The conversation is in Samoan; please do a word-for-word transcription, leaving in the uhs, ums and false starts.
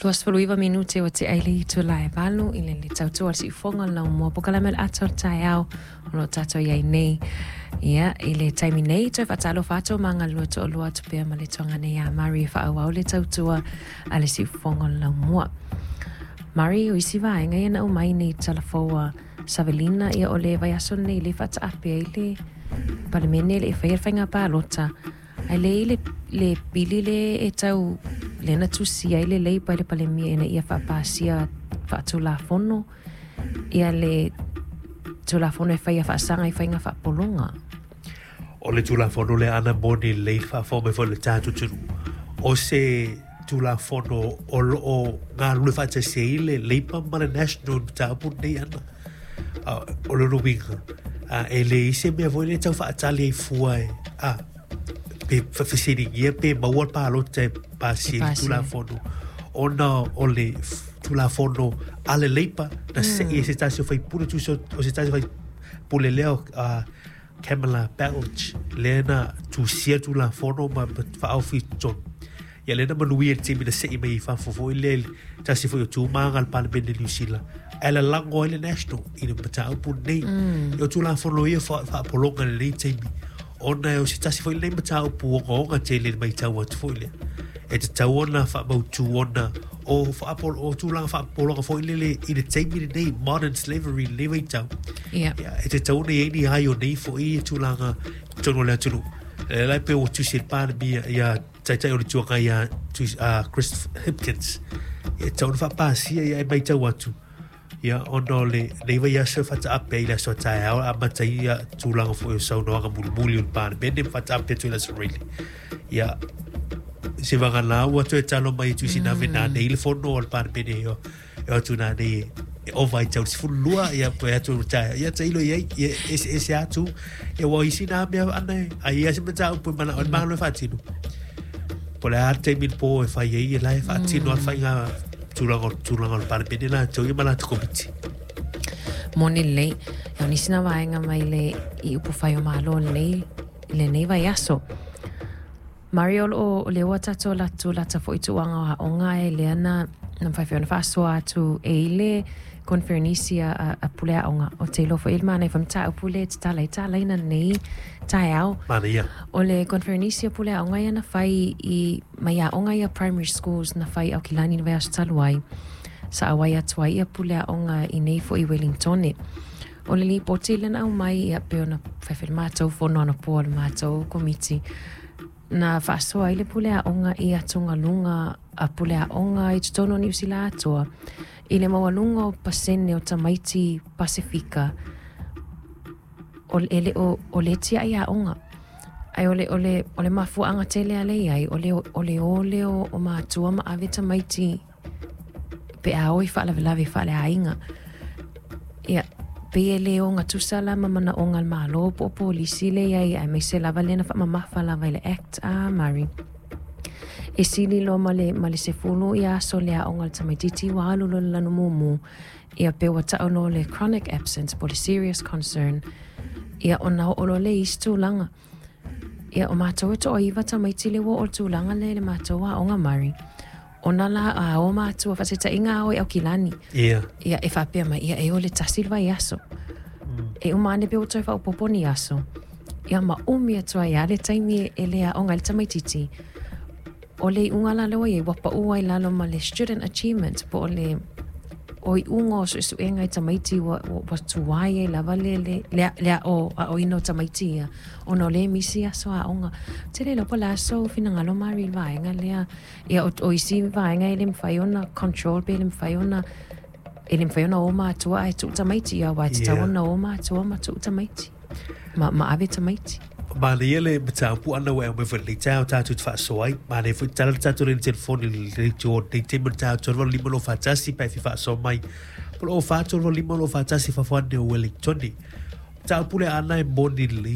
Luasefuluiva minute ua tea i le itula e valu i le le tautua o le siufofoga o le laumua polokalame o le ata o le taeao o lo o tatou i ai nei. Ia, i le taimi nei, toe faatalofa atu ma galulue toalua atu pea ma le tuagane ia Mari e faaauau le tautua a le siufofoga o le laumua. Mari, o isi vaega ia na aumai nei talafou a Savelina, ia o le vaiaso lenei le faataape ai le Palemene le i faia le faiga palota, ae le i le, le pili le e tau lea na tusia ai le Labour i le Palemia ina ia faapasia faatulafono ia le Tulafono e faia faasaga i faiga faapologa. O le Tulafono lea ana moni lelei le faafofoga mai foi o le tatou atunuu. O se Tulafono o lo o galulue faatasi ai le Labour ma le National i le mataupu lenei ana. O lona uiga, e leai se mea foi lea e tau faatali ai fua e, a, pe fesiligia pe maua le palota e pasia ai le Tulafono ona o le Tulafono a le Labour na sei e se tasi o faipule tusa o se tasi o faipule lea o Kamala Baloch lea na tusia Tulafono ma faaofi i totonu. Ia lea na manuia i le taimi na sei mai i fafo foi lea i le tasi foi o tumaga a le Palemene Niu Sila ae lalago ai le National i le mataupu lenei. Mm. O Tulafono ia faapologa i lenei taimi ona o se tasi foi lenei mataupu ogaoga tele i le matau atu foi lea. E tatau ona faamautu ona o, faapolo, o tulaga faapologa foi lele i le taimi lenei, modern slavery i lenei vaitau. Yeah. Ia, e tatau ona i ai ni ai o nei foi tulaga i totonu o le atunuu. E la e pei ua tusi e le Palemia ia Taitai o le Itu Agai ia Chris Hipkins. Ia, e tatau ona faapasia ia e matau atu. Ia, ona o lenei vaiaso e faataape ai i le aso a taeao, e amata ai ia tulaga foi o saunoaga mulimuli o le Palemene ma faataape atu i le aso Faraile. Ia, se vagana ua toe talo mai e tusi nā vena nei le fono o le Palemene e o atu nā nei e ova i tau le sefulu lua, ia pe atu taeao. Ia tailo i ai, ia eseese atu, ia ua isi nā mea ana e, ai ia se mataupu e manao ai le Malo e faatino. Po o le a le taimi i le pō e fai ai, ia la e faatino a le faiga tulaga tulaga o le Palemene latou ia ma latou komiti. Moni lelei. Ia o nisi na vaega mai le i upufai o Malo lenei i lenei vaiaso. Mario, o lo o lea ua tatou alu atu lata foi tulaga o aoga e lea na na mafai foi ona faasoa atu e i le conferenisi a, a, a pule aoga o te iloa foi i le manaia foi mataupu le tatala ai talaina lenei taeao. Manaia. O le conferenisi a pule aoga ia na fai i mai aoga ia primary schools na fai i Aukilani i le vaiaso talu ai. Sa auai atu ai ia pule aoga i nei foi i Wellingtone. O le lipoti lea na aumai ia pei ona fai foi le matou fono anapo a le matou komiti na faasoa ai le pule aoga i atugaluga a pule aoga i totonu o Niu Sila atoa i le maualuga o pasene o tamaiti Pasefika o e le o o le tiai aoga. Ae o le o le o le mafuaaga tele a le i ai o le o le o lea o matua ma ave tamaiti pe a o i faalavelave faaleaiga. Ia, pei e le ogatusa la ma manaoga a le Malo po o polisi le i ai, aemaise lava lea na faamamafa lava i le Act a Murray. E sili loa ma le, ma le sefulu ia aso le aoga a le tamaitiiti ua alu loa i le lanu mumu, ia pe ua tau loa le chronic absence po o le serious concern, ia ona oo loa lea i isi tulaga. Ia, o matou e toaiva tamaiti lea ua oo i le tulaga lea i le matou aoga Murray. Ona la a o matua faataitaiga a o i Aukilani. Ia. Ia e faapea mai, ia e o le tasi le vaiaso. E uma ane pe ua toe faaopoopo ni aso. Ia ma umi atu ai lava le taimi e le aoga ai le tamaitiiti. O le iuga la lea ua i ai, ua pau ai i lalo ma le student achievement po o le o iuga o suesuega i tamaiti ua, ua, ua tuai ai lava le, le, le, le ao, aoina o tamaiti ia, ona o lea e misi aso aoga. Ou te le iloa po o le a sou finagalo Mari i le vaega lea. Ia, o, o isi vaega e le mafai ona control pe le mafai ona, e le mafai ona o matua ae tuu tamaiti ia, aua e tatau Yeah. ona o matua ma tuu tamaiti, ma, ma ave tamaiti. Manaia le mataupu ana ua e aumai foi i lenei taeao tatou te faasoa ai. Manaia foi tala le tatou lea i le telefoni i lenei itu o lenei taimi o le taeao tolu valu lima lua fa tasi pe a e fia faasoa mai. Po o le o fa tolu valu lima lua fa tasi fafo ane o Wellingtone. Mataupu lea ana e moni lelei.